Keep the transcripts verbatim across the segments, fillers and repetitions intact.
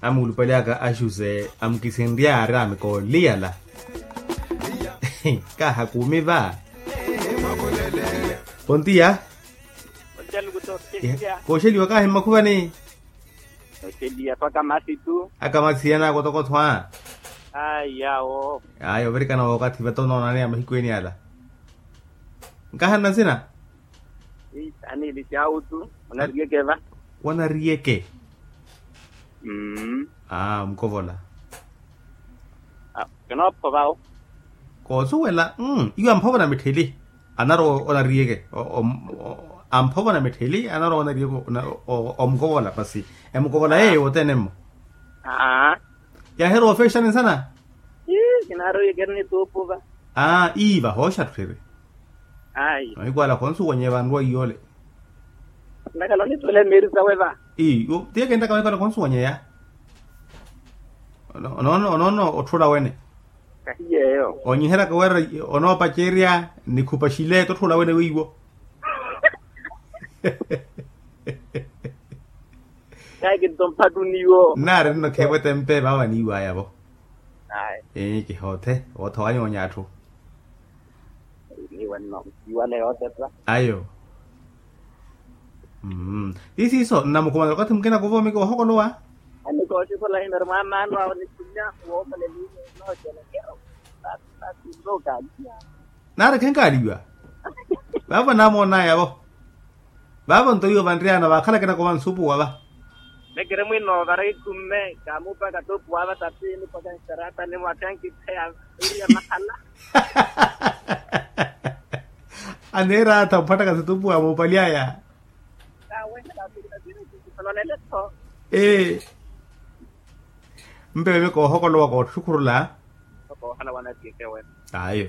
Amuulupali aka axuse amukisinryaari amikooliyala. Kaha kuumi va. Pontiya. Kooxeliwa kahi mmakhuvani. Kooxeliwa pa kamasi tu. Akamasi yanaako tokotho a. Ayi awo. Ayi ovirikana wookathi vata onoonaniya mahiku eni ala. Nkahanna nsina. Aniili syawutu. Onariyeke va. Wanariyeke. Aa mukovola. Kinoopho vawo. Koosuwela. Iwo amphovona mittheli. Anarowa onariyeke. Amphovona mittheli anarowa onariyeke. Omukovola pasi. Emukovola yeeyo wothene mmo. Aa. Yahirowa ofeexani nsana. Ii kinaarowiyeke erinituupuva. Aa ii vahooxa tthwiri. Ayi. Mahiku ala khonsuwanye vanruwa iyole. Ntakhala onitthula emeeri sawe va. Ii. Tiye kentaka mahiku ala khonsuwanyeya. Onoono onoono otthula wene. Kahiyeeyo. Onyiheryaka wira onoopacerya nikhupa xile totthula wene weiwo. Kahi kinto mphattuniwo nnaari nno kheevo etempe vaavo aniiwaya vo. Ayi. Kihoothe wootha wanyoonya atthu. Niiwe nno. Iwale yootepa. Ayo. Mmm. Ti siiso nnamukhumana okathi mukina kuvoomiki ohokolowa. Anikooxikola himeru mwaamaano awo nikhumya. Wookola eliimu noocelekero. Naarekhenkaaliwa. Vaavo naamoonayavo. Vaavo nto iwo vanriyana vaakhala kinakova nsupuwa va. Mekiri mwino vara ikhumme kaamuupaka toopuwa va tapi nipaka nxarata nimwakha nkipheya. Iriya mahala. Aneera atha mphattaka situpuwa muupalyaya. Ee. Mpewe koohokolowa kootthukhurula. Koohala wanatiyeke wene. Ayo.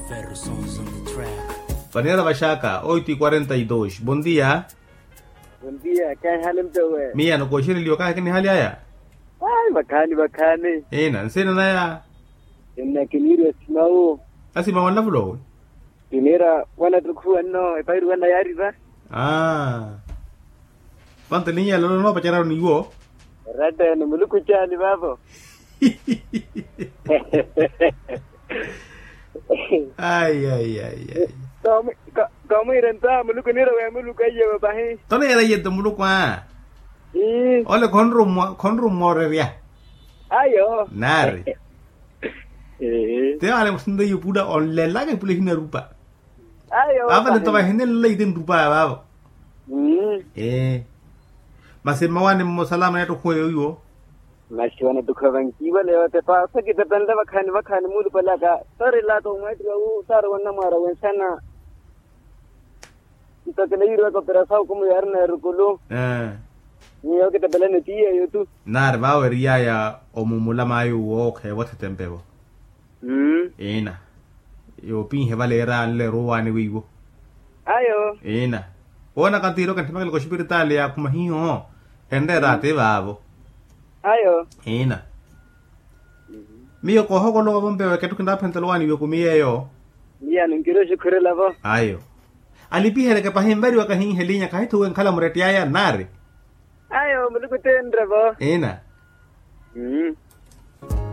Ferro sons on the track. Vanera vaxaka oito e quarenta e dois bom dia. Bom dia. Kaahihale mpewe. Miya nokooxereliwa kaahikinihalyaya. Ayi vakhaani vakhaani. Ina nsina naya. Ina kiniiriwa simawu. Asimawu anlavulowe. Tiniira wanattukhuwa nno epahiru wanayaari va. Aa. Vanto elinyala lolo noopacararu niwo. Eratta ene muluku caani vaavo. Ayi ayi ayi ayi. Koomwiira nto a muluku niira weemuluku aiyevo pahi. Toneera iye nto muluku a. Ole khonrummwa khonrummwa orerya. Ayo naari. Te ale musinto iye opula onlelaka epula ehinarupa. Vaavo nto vahinenlela ite nrupa vaavo. Ee. Masi mmawaani mmosalama neettukhuwa eyo iwo. Masi wanattukhuwa vankiiwale yootepa osa kitepenle vakhaani vakhaani muulupale aka. Soorilaka omweettiwa wu saarowa nnamwaara wenxana. Nto kinayiiriwaka operasawu kumuyaari na erukulu. Nyuwo kitepelani ti yeeyo tu. Naari vaavo eriyaya omumula maayo uwo okheevo othetempevo. Ina. Yoopinhe valeera anleera owaani weiwo. Ayo. Ina. Woonaka ntiiroko entthemekela koxipiritaali yaakhuma hiho. Enreera ati vaavo. Ayo. Ina. Miyo koohokolowa vo mpewe kettu kinaaphentela owaani iwe kumi yeeyo. Miya ninkiri oxikhurela vo. Ayo. Alipiheryeke pahi nvariwaka hiihe elinya khahithuwe nkhala murettiyaya nnaari. Ayo muluku ti enre vo. Ina.